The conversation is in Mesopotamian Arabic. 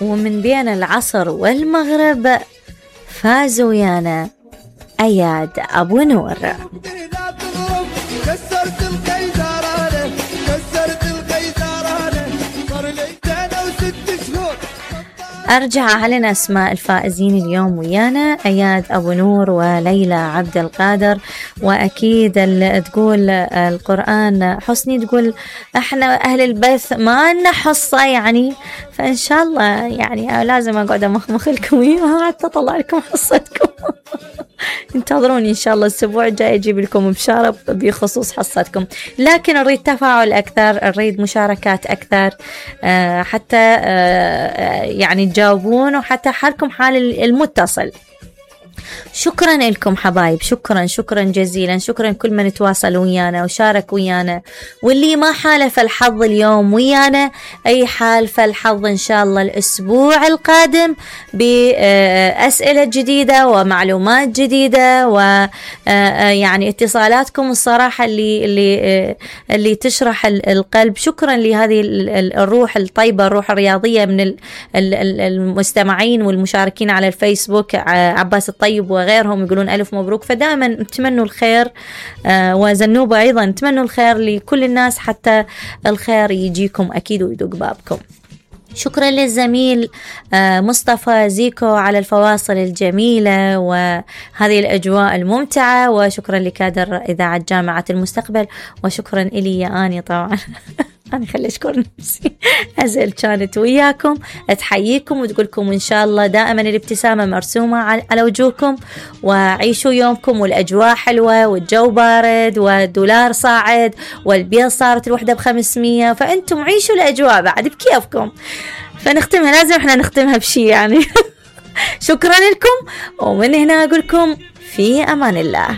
ومن بين العصر والمغرب فازوا ويانا أياد أبو نور. أرجع أعلن أسماء الفائزين اليوم ويانا: أياد أبو نور وليلى عبد القادر. وأكيد تقول القرآن حسني، تقول إحنا أهل البث ما لنا حصة يعني، فإن شاء الله يعني لازم أقعد أمخمخ لكم إياها حتى أطلع لكم حصتكم. انتظروني إن شاء الله الأسبوع الجاي أجيب لكم بشارة بخصوص حصتكم، لكن نريد تفاعل أكثر، نريد مشاركات أكثر، حتى يعني تجاوبون، وحتى حالكم حال المتصل. شكرا لكم حبايب، شكرا جزيلا، شكرا كل من تواصل ويانا وشارك ويانا، واللي ما حالف الحظ اليوم ويانا أي حال فالحظ إن شاء الله الأسبوع القادم بأسئلة جديدة ومعلومات جديدة، ويعني اتصالاتكم الصراحة اللي تشرح القلب. شكرا لهذه الروح الطيبة، الروح الرياضية من المستمعين والمشاركين على الفيسبوك، عباس الطيب وغيرهم يقولون ألف مبروك. فدائما تمنوا الخير، وزنوبة أيضا تمنوا الخير لكل الناس حتى الخير يجيكم أكيد ويدق بابكم. شكرا للزميل مصطفى زيكو على الفواصل الجميلة وهذه الأجواء الممتعة، وشكرا لكادر إذاعة جامعة المستقبل، وشكرا إلي يا آني طبعا. أنا خلي أشكر نفسي. أزل كانت وياكم تحييكم وتقولكم إن شاء الله دائما الابتسامة مرسومة على وجوهكم، وعيشوا يومكم والأجواء حلوة والجو بارد والدولار صاعد والبيض صارت الوحدة ب500، فأنتم عيشوا الأجواء بعد بكيفكم. فنختمها، لازم احنا نختمها بشي يعني. شكرا لكم، ومن هنا أقولكم في أمان الله.